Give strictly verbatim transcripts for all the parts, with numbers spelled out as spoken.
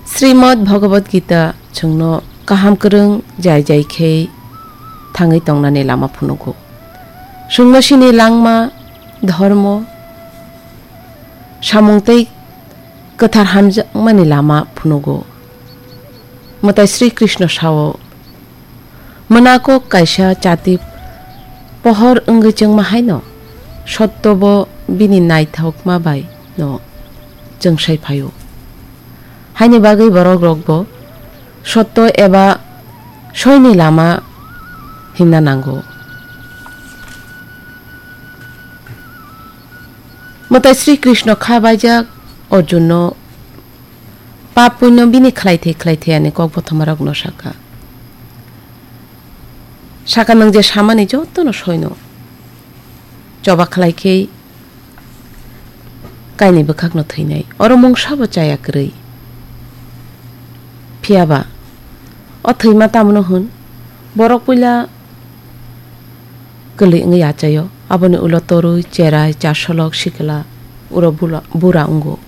Srimad Bhagavad Gita chwngno kaham kwrwng jai jai khe thangwi tongnani lama phunugo. Chwngno chini langma, dhormo, samung tei kwthar hamjakmani lama phunugo. Mwtai Sri Krishna sao, "Mwnakok kaisa chati pohor wngwi chwngma haino, sotto bo bini naithokma bai no chwngsai phaio." Haini bagwi borok rok bo sotto eba soini lama himna nango. Mwtai Sri Krishna kha baijak Arjunno pap punyo bini khlai thai khlai thai ani kok bothomarokno saka. Saka, "Nwng je samani jotono soino choba khlai khe kainwi bwkhakno thwinai. Oro mungsa bo chaya kwrwi. Phiya ba o thwima tamono hwn, borok puila kwlwi wngwi achaio, aboni ulo torwi, cherai, chasolok, sikla, uro bula-, bura wngo.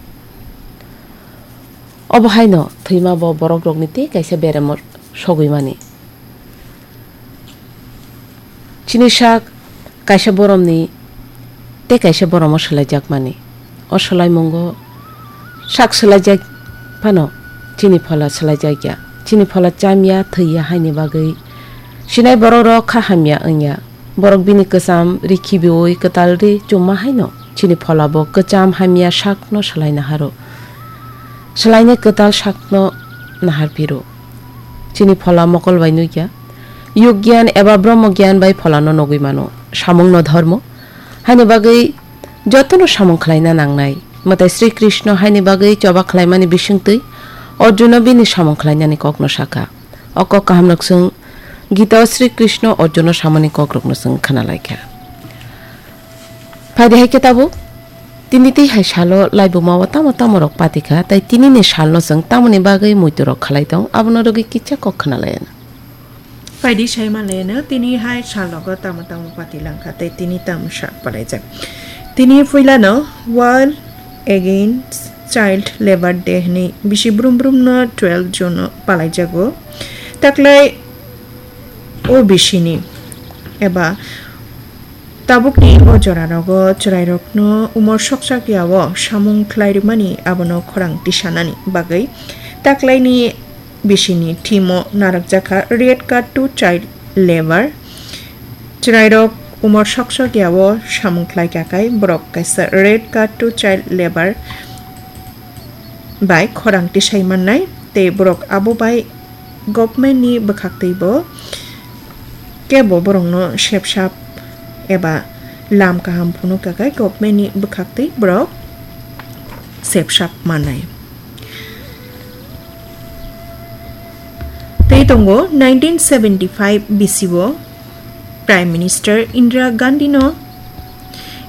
Obo haino thwima bo borok rokni tei kaisa beremo sogwi mani. Chini sak kaisa boromni tei kaisa boromo swlaijakmani. O swlaimungo sak swlaijak phano chini phola swlaijakya. Chini phola chamya, thwiya haini bagwi sinai borok rok kha hamya wngya. Borok bini kwcham ri khibiui kwtal ri chumma haino chini phola bo kwcham hamya sakno swlai naharo. Swlainai kwtal sakno nahar phiro. Chini phola mokol bai nukya. Yug gyan eba Brahma gyan bai pholano nugwi mano. Samungno dhormo haini bagwi jotono samung khlaina nangnai. Mwtai Sri Krishna haini bagwi choba khlaimani bisingtwi Arjuna bini samung khlainani kokno saka. O kok kahamno chwng Gita o Sri Krishna Arjuna samani kokrokno chwng khna laikha. Phaidi hai khe tabuk, tini tei hai salo laibuma o tamo tamo rok patikha, tai tini ni salno chwng tamoni bagwi muitu rok khalai tong, abono rwgwi kisa kok khna laiya. Phaidi sai manlaino, tini hai sal rogo tamo tamo pati langkha tei tini tamo sak palaijak. Tini puilano World Against Child Labour Day hwnwi bisi brum brum no twelve June o palaijago. Taklai o bisini eba tabukni o jora rogo chwrai rokno umor soksak ya o samung khlai rwmani abono khorang tisanani bagwi taklaini bisini theme o narwkjakha Red Card to Child Labour. Chwrairok umor sok sok ya o samung khlai kha khai borok kaisa Red Card to Child Labour bai khorang tisai mannai tei borok abo bai government ni bwkhaktwi bo kebo borokno sepsap eba lam kaham phunuk kha khai government ni bwkhaktwi borok sepsap mannai. Tei tongo nineteen seventy-five bisio Prime Minister Indira Gandhi no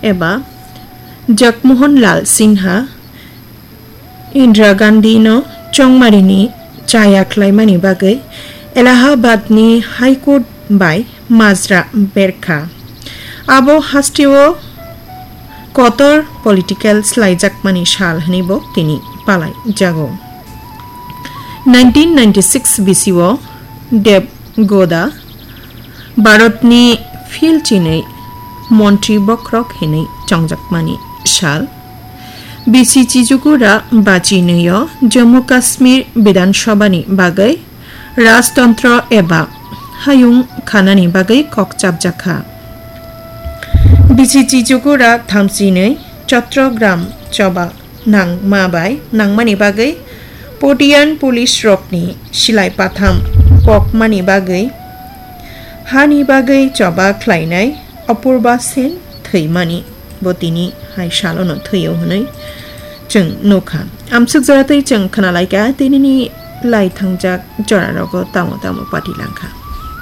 eba Jagmohan Lal Sinha Indira Gandhi no chongmarini chaya khlaimani bagwi Allahabad ni High Court bai majra berkha. Abo hasteo kotor political slaijakmani sal hwnwi bo tini palai jago. Nineteen ninety-six bisio Dev Gowda Bharatni phil chinwi montri bokhorok hinwi chongjakmani sal. Bisi Chijugura bachinwi o Jammu Kashmir Bidhan Sabhani bagwi rajtontro eba hayung khanani bagwi kok chapjakha. Bisi Chijugura thamchinwi Chattogram choba nangma bai nangmani bagwi Patian police rokni silai patham kokmani bagwi hani bagwi choba khlainai Apurba Sen thwimani bo tini hai salono thwio hwnwi chwng nukha. Amsuk jora tei chwng khwnalaikha tinini lai thangjak jorarogo tamo tamo pati langkha.